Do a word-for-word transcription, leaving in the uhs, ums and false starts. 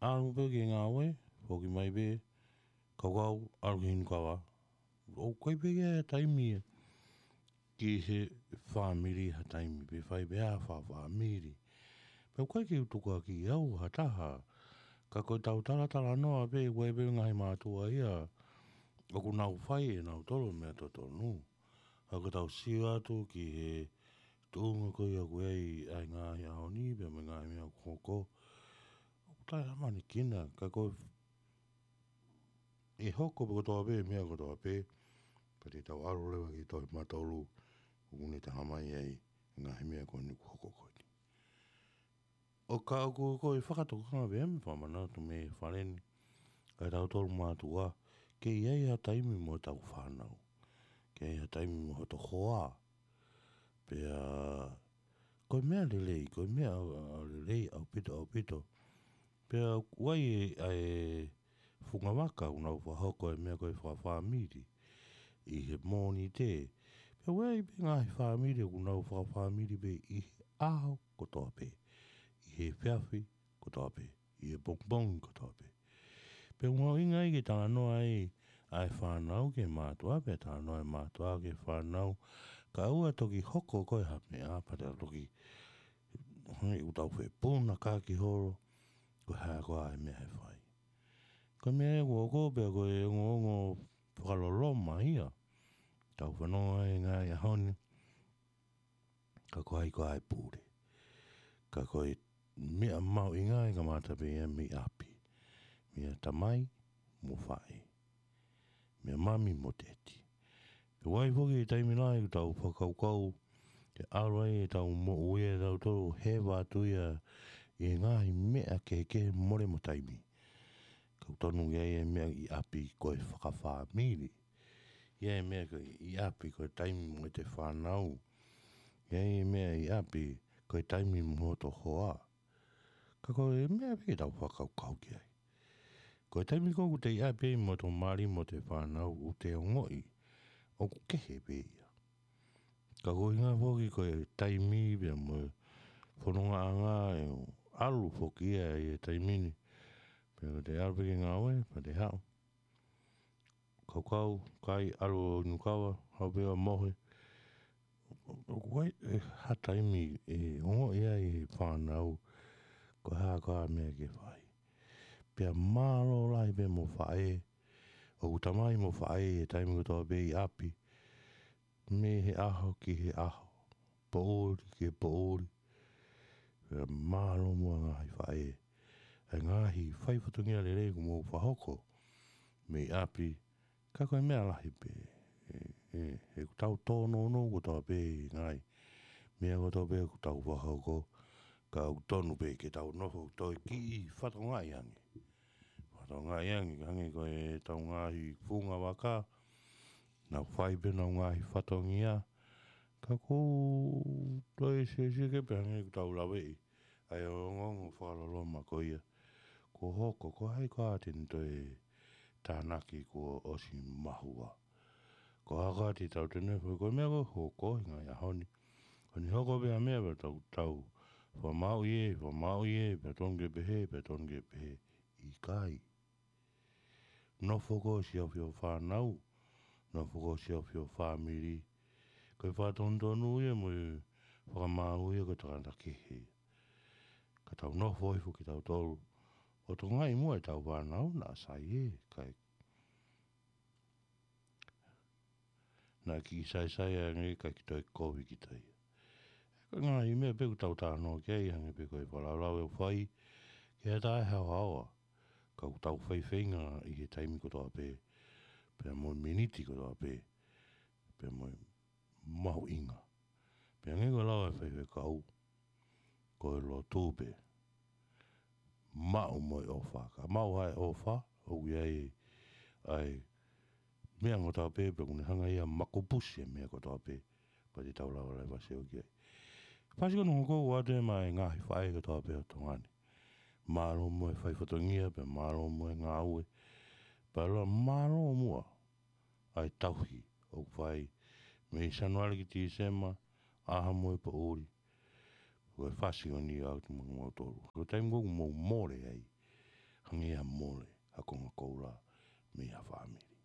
ʻAlu pē ki he ngāue, foki mai pē, kaukau, ʻalu ki he inu kava. ʻOku ʻikai pē ke ʻi ai ha taimi ia ki he fāmili ha taimi, pe fai pē ha fakafāmili. Pea ʻoku ʻikai ke u tukuakiʻi au ha taha, ka ko ʻetau talatalanoa pē, ʻoku ʻi ai pē ngaahi mātuʻa ia ʻoku nau fai ʻenautolu e meʻa totonu. Ka ko ʻetau sio atu ki he tuʻunga ko ia ʻoku ʻi ai ʻa e ngaahi ʻaho ni, pea mo e ngaahi meʻa ʻoku hoko, ʻoku taʻeʻamanekina, ka ko e hoko pē kotoa pē, meʻa kotoa pē, pea te tau ʻalu leva ki he tohi Mātolu, ʻoku ne talamai ai e ngaahi meʻa ko eni ʻoku hoko ko eni. ʻO ka ʻoku ko e fakatokanga pē mo e fakamanatu mei he fale ni, ka ʻi heʻetau tolu mātuʻa, ke ʻi ai ha taimi mo ʻetau fānau, ke ʻi ai ha taimi mo hoto hoa, pea ko e meʻa lelei, ko e meʻa, ʻa, lelei ʻaupito, ʻaupito. Pea ʻoku ʻi ai e, ʻa e funga vaka ʻoku nau fakahoko e meʻa ko e fakafāmili ʻi he Mōnite. Pea ʻoku ʻi ai pē ngaahi fāmili ʻoku nau fakafāmili pē ʻi he ʻaho kotoa pē, ʻi he efiafi kotoa pē, ʻi he pongipongi kotoa pē. Pea ʻoku mahuʻinga ai ke talanoa ai ʻa e fānau ki he mātuʻa, pea talanoa e mātuʻa ki he fānau, kae ʻoua ʻe toki hoko ko e ha meʻa, pea te toki, hei, ʻoku tau fepunakaki holo, ko e hā koā e meʻa ʻe fai. Ko e meʻa ia ʻoku hoko pea ko e ongoongo fakaloloma ia. Tau fanongo ai he ngaahi ʻaho ni, ka ko hai koā e pule. Ka ko e meʻa mahuʻinga ʻe kamata pē ia mei ʻapi. Meia tamai mo faʻē. Meia mami mo teti. Pea ʻoku ʻi ai foki e taimi lahi ʻoku tau fakakaukau ke ʻalu ai ʻetau moʻui ʻatautolu, heva atu ia ʻi he ngaahi meʻa kehekehe, mole mo taimi. Ka ʻoku tonu ke ʻi ai e meʻa ʻi ʻapi ko e fakafāmili. ʻI ai e meʻa ko ē ʻi ʻapi ko e taimi mo ʻete fānau. ʻI ai e meʻa ʻi ʻapi ko e taimi mo hoto hoa. Ka ko e meʻa pē ke tau fakakaukau ki ai. Ko e taimi ko ē ʻoku te ʻi ʻapi ai mo hoto mali mo hoto fānau, ʻoku te ongoʻi ʻoku kehe pē ia. Ka ko e ʻuhinga foki ko e taimi pea mo e fonongaʻanga ʻe ʻalu foki ia ʻi he taimi ni. Pea ko ʻete ʻalu pē ki he ngāue, pea te haʻu. Kaukau, kai, ʻalu ʻo inu kava, haʻu pē ʻo mohe. ʻOku ʻi ai e ha taimi ʻe ongoʻi ai e fānau ko e hā koā e meʻa ke fai. Pea mālō lahi pē mo faʻē, ʻoku tamai mo faʻē he taimi kotoa pē ʻi ʻapi, mei he ʻaho ki he ʻaho, poʻuli ki he poʻuli. Pea mālō muʻa ngaahi faʻē, ʻa e ngaahi faifatongia lelei kuo mou fakahoko mei ʻapi, ka ko e meʻa lahi pē, ʻe, ʻe, ʻoku tau tōnounou kotoa pē ʻi he ngaahi meʻa kotoa pē ʻoku tau fakahoko, ka ʻoku tonu pē ke tau nofo ʻo toe kiʻi fatongiaʻi ange. Fatongiaʻi ange, hangē ko ʻetau ngaahi funga vaka, nau fai pē ʻenau ngaahi fatongia, ka ʻoku toe siosio ke pehē ange ʻoku tau laveʻi ʻa e ongoongo fakaloloma ko ia. Kuo hoko, ko hai koā te ne toe tānaki kuo ʻosi mahua. Ko hai koā te tau tene foʻi ko e meʻa ko ē hoko he ngaahi ʻaho ni. Ko eni hoko pē ha meʻa pea tau, tau fakamāuʻi ē, fakamāuʻi ē, pea tonu ke pehē, pea tonu ke pehē. ʻIkai. Nofo ko ē ʻo siʻi ʻofeina fānau, nofo ko ē ʻo siʻi ʻofeina fāmili. Ko e fakatonutonu ia mo e fakamaau ia ko e tangata kehe. Ka tau nofo hifo kitautolu ʻo tokangaʻi muʻa ʻetau fānau, naʻa sai ē, kae naʻa kiʻi saisai ange kae ʻikai toe kovi kita ia. Ko e ngaahi meʻa pē ʻoku tau talanoa ki ai, hangē pē ko e fakalaulau ʻoku fai, ke ʻatā e haohaoa, ka ʻoku tau faifeinga ʻi he taimi kotoa pē, pea mo e miniti kotoa pē, pea mo e mahuʻinga. Pea hangē ko e lau ʻa e faifekau, ko e lotu pē, maʻu mo e ʻofa. Ka maʻu ʻa e ʻofa, ʻoku ʻi ai ʻa e meʻa kotoa pē, pea ʻoku ne hanga ia ʻo makupusi e meʻa kotoa pē, pea te tau lava leva ʻo sio ki ai. Fasi ko eni ʻoku ou ʻoatu ē maʻa e ngaahi faʻē kotoa pē ʻo Tonga ni. Mālō muʻa e faifatongia, pea mālō muʻa e ngāue. Pea lava mālō muʻa ʻa e tauhi ʻoku fai mei Sānuali ki Tīsema, ʻaho mo e poʻuli. Ko e fasi ko eni ʻoatu maʻa kimoutolu. Ko e taimi ko ē ʻoku mou mole ai, Hangē ha mole ha konga koula mei ha fāmili.